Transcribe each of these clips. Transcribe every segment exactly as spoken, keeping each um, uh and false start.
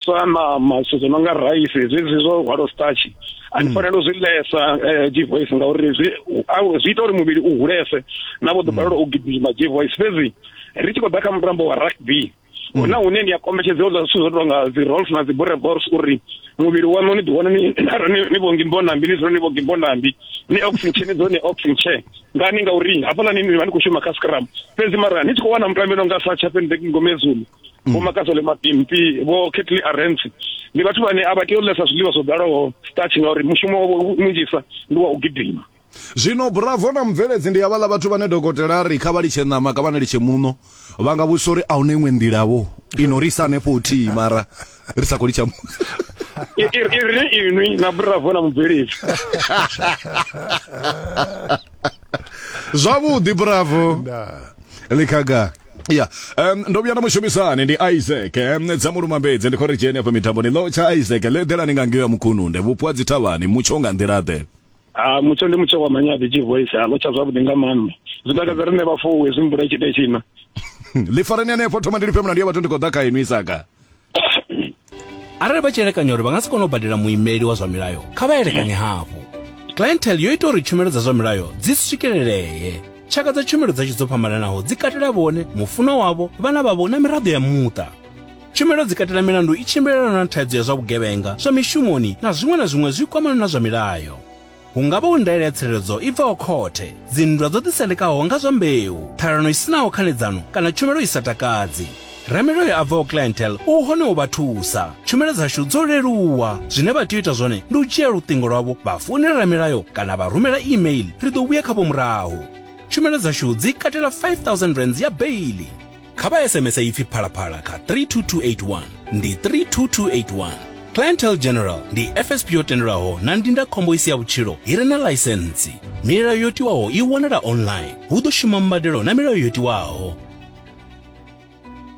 Sa ṋama, zwithu zwo no nga raisi, zwezwi zwo hwalo starch, a ni fanela u zwi ḽesa G-Voice, ngauri zwi zwi ita uri muvhili u hulese na vho ḓo balelwa u gidima G-Voice. Fhedzi ri tshi khou ḓa kha mutambo wa rugby, huna hune ni a kombetshedza u ḽa zwithu zwo tonga dzi rolls na dzi boerewors uri muvhili waṋu ni ḓi wane ni ni vho ngimbonambi, ni dzule ni vho ngimbonambi, ni oxygen ni dzule ni oxygen ngani, ngauri hafhaḽani ni vha ni khou shuma kha scrum. Fhedzi mara ni tshi khou wana mutambi no nga sa Chapendek Ngomezulu, vho Makazole Mapimpi, vho Ketli Arens, ndi vhathu vhane a vha tei u ḽesa zwiḽiwa zwo ḓalaho starch, ngauri mushumo wavho munzhisa ndi wa u gidima. Zwino Bravo na Mubveledzi ndi havhaḽa vhathu vhane dokotela ri kha vha litshe ṋama, kha vha litshe muṋo, vha nga vhudzisa uri a huna iṅwe nḓila vho ino ri isa hanefho huthihi mara ri sa khou litsha muṋo. I ri inwi na Bravo na Mubveledzi. Zwavhuḓi Bravo Likhaga. Ya, um, ndo vhuya na mushumisani ndi Isaac um, dza Mulumambedzi, ndi khou ri dzheni afha mitamboni ḽo tsha Isaac ḽe ḓelani nga ngeo ya Mukhununde vhupo ha dzithavhani, mutsho nga nḓila ḓe? Ah, mutsho ndi mutsho wa manyaḓi G-Voice, a ḽo tsha zwavhuḓi nga maanḓa, zwi takadza riṋe vhafuwi hezwi mvula i tshi ita tshina. Ḽi fareni hanefho, thoma ndi lifhe mulandu ya vhathu, ndi khou ḓa kha inwi Isaka. Arali vha tshi elekanya uri vha nga si kone u badela muimeli wa zwa milayo, kha vha elekanye hafhu. Clientele yo ita uri tshumelo dza zwa milayo dzi swikelelee. Tshaka dza tshumelo dzashu dzo fhambananaho dzi katela vhone, mufunwa wavho, vhana vhavho na miraḓo ya muṱa. Tshumelo dzi katela milandu i tshimbilelanaho na thaidzo ya zwa vhugevhenga, zwa mishumoni na zwiṅwe na zwiṅwe zwi kwamanaho na zwa milayo. Hu nga vha hu ndaela ya tsireledzo i bvaho khothe, dzinndwa dzo ḓisendekaho nga zwa mbeu, ṱhalano i sinaho khanedzano kana tshumelo i sa takadzi. Ramilayo a bvaho Clientele u hone u vha thusa. Tshumelo dzashu dzo leluwa. Zwine vha tea u ita zwone ndi u dzhia luṱingo lwavho vha founela ramilayo kana vha rumela email, ri ḓo vhuya khavho murahu. Tshumelo dzashu dzi katela five thousand rands ya beili. Kha vha S M S ipfi Phalaphala kha three two two eight one, ndi three two two eight one. Clientele General ndi F S P yo tendelwaho na ndindakhombo isi ya vhutshilo i re na ḽaisentsi. Milayo yo tiwaho i wanala online. Hu ḓo shuma mbadelo na milayo yo tiwaho.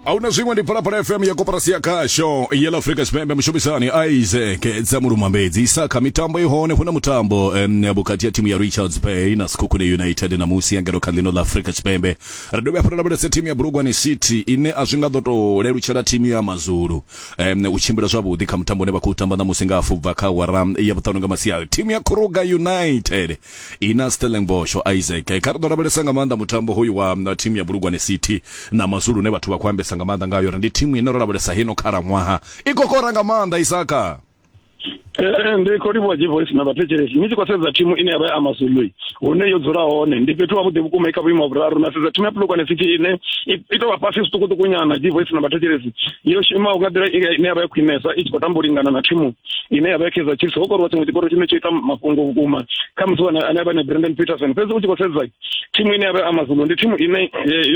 Ahuna zwiṅwe, ndi Phalaphala F M ya koporasi ya khasho ya ḽa Afrika Tshipembe. Mushumisani Isaac dza Mulumambedzi. Isaka, mitambo i hone, huna mutambo um, vhukati ya thimu ya Richards Bay na Sekhukhune United na musi ya ngeno kha ḽino ḽa Afrika Tshipembe. Ri dovhe hafhu ra lavhelesa thimu ya Bulugwane City ine a zwi nga ḓo tou lelutshela thimu ya Mazulu um, u tshimbila zwavhuḓi kha mutambo une vha khou tamba ṋamusi nga hafu bva kha awara ya vhuṱanu nga masiari. Thimu ya Kruger United ina Stellenbosch. Isaac, kha ri ḓo lavhelesa nga maanḓa mutambo hoyu wa thimu ya Bulugwane City na Mazulu une vhathu vha khou ambesa nga maanḓa ngayo uri ndi thimu ine ro lavhelesa hino khalaṅwaha i kokora nga maanḓa. Isaka, Eh, ndi khou livhuwa G-Voice na vhathetshelesi. Ni tshi khou sedza thimu ine ya vha ya Amazulu hune yo dzula hone ndi fhethu havhuḓi vhukuma, i kha vhuimo ha vhuraru. Na sedza thimu ya Polokwane City ine i tou vha fhasi zwiṱukuṱuku nyana G-Voice na vhathetshelesi, yo shumaho nga nḓila ine ya vha ya khwinesa, i tshi khou tamba u lingana na thimu ine ya vha ya Kaizer Chiefs. Ho koriwa tshiṅwe tshikoro tshine tsho ita mafhungo vhukuma kha musi ane a vha na Brandon Peterson. Fhedzi u tshi khou sedza thimu ine ya vha ya Amazulu ndi thimu ine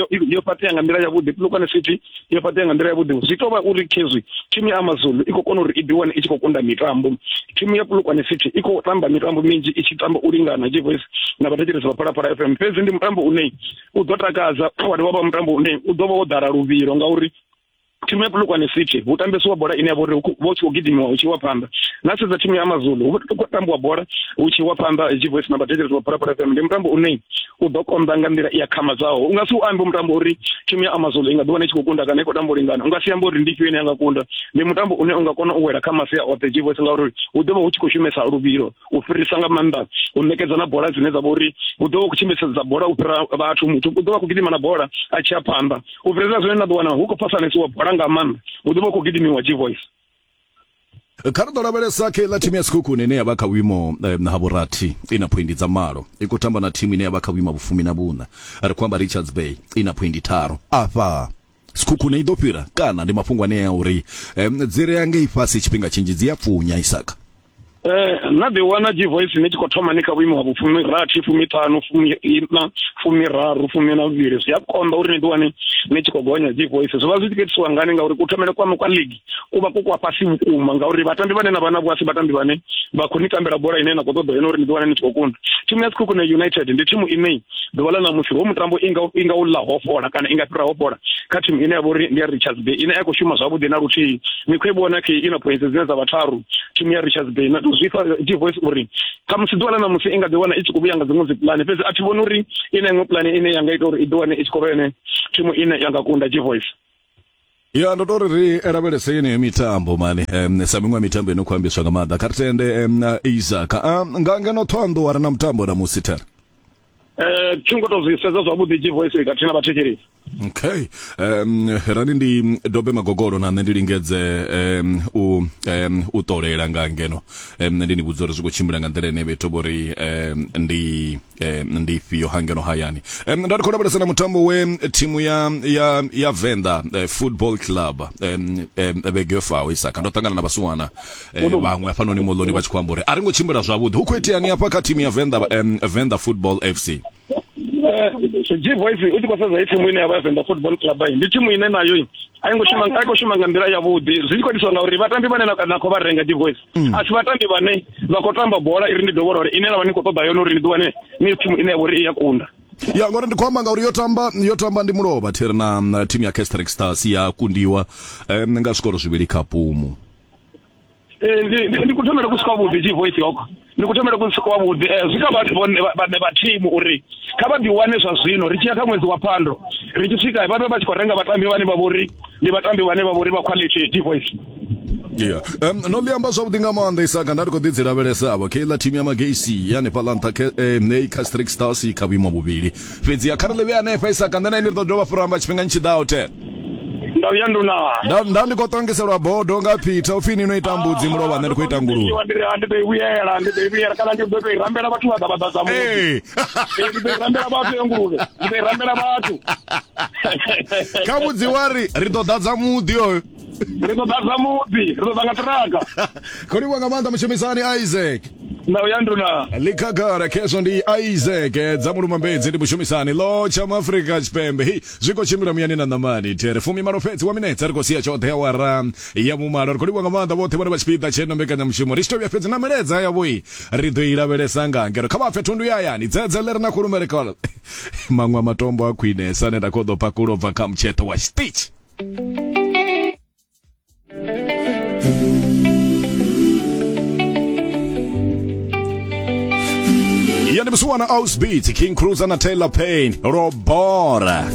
yo fhaṱea nga nḓila yavhuḓi. Polokwane City yo fhaṱea nga nḓila yavhuḓi, zwi tou vha uri khezwi thimu ya Amazulu i khou kona uri i ḓiwane i tshi khou kunda mitambo. Thimu ya Polokwane City i khou tamba mitambo minzhi i tshi tamba u lingana G-Voice na vhathetshelesi vha Phalaphala F M. Fhedzi ndi mutambo une u ḓo takadza, wa dovha vha mutambo une u ḓo vha wo ḓala luvhilo, ngauri thimu ya Polokwane City hu tambesiwa bola ine ya vha uri hu tshi khou gidimiwa hu tshi wa phanḓa. Na sedza thimu ya Amazulu hu khou tambiwa bola hu tshi wa phanḓa G-Voice na vhathetshelesi vha Phalaphala F M. Ndi mutambo une u ḓo konḓa nga nḓila i akhamadzaho. U nga si u ambe mutambo uri thimu ya Amazulu i nga ḓi wana i tshi khou kunda kana i khou tamba u lingana, u nga si ambe uri ndi ifhio ine ya nga kunda. Ndi mutambo une u nga kona u wela kha masia oṱhe G-Voice, ngauri hu ḓo vha hu tshi khou shumesa luvhilo u fhirisa nga maanḓa u ṋekedza na bola dzine dza vha uri hu ḓo vha khou tshimbisedza bola u fhira vhathu. Muthu u ḓo vha khou gidima na bola a tshi ya phanḓa u fhirisa zwine na ḓo wana hu khou phasanesiwa bola nga maanḓa, hu ḓo vha khou gidimiwa G-Voice. Kha ri ḓo lavhelesa kha iḽa thimu ya Sekhukhune ine ya vha kha vhuimo ha vhurathi i na phoindi dza malo, i khou tamba na thimu ine ya vha kha vhuimo ha vhufumi na vhuṋa, ri khou amba Richards Bay i na phoindi tharu. Afha Sekhukhune i ḓo fhira kana ndi mafhungo ane a uri dzi re ngei fhasi tshifhinga tshinzhi dzi a pfunya? Isaka, Eh, na ḓi wana G-Voice ni tshi khou thoma ni kha vhuimo ha vhufumi rathi, fumi ṱhanu, fumi ina, fumi raru, fumi na vhuvhili, zwi a konḓa uri ni ḓi wane ni tshi khou gonya G-Voice. Zwi vha zwi tshi khou itiswa ngani? Ngauri kuthomele kwaṋu kwa league ku vha ku kwa fhasi vhukuma, ngauri vhatambi vhane na vha navho a si vhatambi vhane vha khou ni tambela bola ine na khou ṱoḓa yone uri ni ḓi wane ni tshi khou kunda. Thimu ya Sekhukhune United ndi thimu ine ḓuvha ḽa ṋamusi ho mutambo i nga i nga u ḽa ho fhola kana i nga fhira ho fhola kha thimu ine ya vha uri ndi ya Richards Bay ine a khou shuma zwavhuḓi na luthihi. Ni khou i vhona khe i na points dzine dza vha tharu thimu ya Richards Bay, na zwi fha G-Voice uri khamusi ḓuvha ḽa ṋamusi i nga ḓi wana i tshi khou vhuya nga dziṅwe dzi pulane, fhedzi a thi vhoni uri i na iṅwe pulane ine ya nga ita uri i ḓi wane i tshi khou vha yone thimu ine ya nga kunda G-Voice. Ya ndo tori ri lavhelese yeneyo mitambo mani um, sa miṅwe mitambo ino khou ambiswa nga maanḓa. Kha ri tende um, Isaac um, nga ngeno Thohoyandou a re na mutambo na musi thera. Eh thi ngo to zwi sedza zwavhuḓi G Voice khathihi na vhathetshelesi. Okay. Um rani ndi dobe magogolo na nṋe ndi lingedze um u um u ṱolela nga ngeno. Um ndi ni vhudza uri zwi khou tshimbila nga nḓila ine vhethu vhori um ndi um ndi ifhio hangeno hayani. Um nda ndi khou lavhelesa na mutambo we thimu ya ya ya Venḓa uh, Football Club um um vhege yo faho Isaka ndo ṱangana na vhasiwana vhaṅwe hafhanoni moḽoni vha tshi khou amba uri a ri ngo tshimbila zwavhuḓi. Hu khou iteani hafha kha thimu ya Venḓa um Venḓa Football F C? G Voice u tshi khou sedza i thimu ine ya vha Venḓa Football Club ndi thimu ine nayo a i ngo shuma a i khou shuma nga nḓila yavhuḓi. Zwi tshi khou itiswa ngauri vhatambi vhane na khou vha renga G Voice a si vhatambi vhane vha khou tamba bola iri ndi dovholola uri ine na vha ni khou ṱoḓa yone uri ni ḓi wane ni thimu ine ya vha uri i ya kunda. Ya ngori ndi khou amba ngauri yo tamba yo tamba ndi mulovha thiri na thimu ya Casric Stars ya kundiwa um, nga zwikoro zwivhili kha Pumu. Ndi ndi kuthomela ku sikwavhuḓi G Voice hoko ndi kuthomela ku sikwavhuḓi zwi kha vhathu vhane vha thimu uri kha vha ḓiwane zwa zwino ri tshi ya kha ṅwedzi wa Phando ri tshi swika vha vhe vha tshi khou renga vhatambi vhane vha vhori ndi vhatambi vhane vha vhori vha quality G Voice. Yeah. Um, no ḽi amba zwavhuḓi nga maanḓa Isaka nda ndi khou ḓi dzi lavhelesa avho keiḽa thimu ya Magesi ya hanefhaḽa nṱha eh, Casric Stars kha vhuimo vhuvhili fhedzi ya kha ri ḽi vhe hanefha Isaka nṋe na ini ri ḓo dovha fura amba tshifhingani tshi ḓaho the. Nda vhuya nduna. Nda nda ndi khou ṱongiselwa bodo nga Peter upfi ni no ita mbudzi mulovha nṋe ndi khou ita nguluvhe. Ndi ndi ḓo i vhuyela ndi ḓo i vhuyela kana ndi ḓo tou i rambela vhathu vha ḓa vha ḓadza muḓi. Ndi ḓo i rambela vhathu ya nguluvhe. Ndi ḓo i rambela vhathu. Kha vhudzi wa ri ri ḓo ḓadza muḓi oyo. Ri ḓo ḓadza muḓi, ri ḓo ḓa nga ṱiraka. Khou livhuwa nga maanḓa mushumisani Isaac. Nda vhuya nduna. Likhagara khezwo ndi Isaac dza Mulumambedzi ndi mushumisani lo tsha Afrika Tshipembe. Hei zwi khou tshimbila muyani na ṋamani there fumi malo fhedzi wa minetse ri khou sia tshoṱhe awara ya vhumalo. Ri khou livhuwa nga maanḓa vhoṱhe vhane vha tshipiḓa tsheno mbekanyamushumo ri tshi tou vhuya fhedzi na milaedza yavho ri ḓo i lavhelesa nga ngeno kha vha pfe thundu ya hayani dzedze ḽi re na khulumele kha maṅwe a matombo a khwinesa ane nda khou ḓo pakulwa bva kha mutsheṱo wa tshiṱitshi. Ya ndi musiwana House Beats, King Cruiser na Taylor Payne, Robora.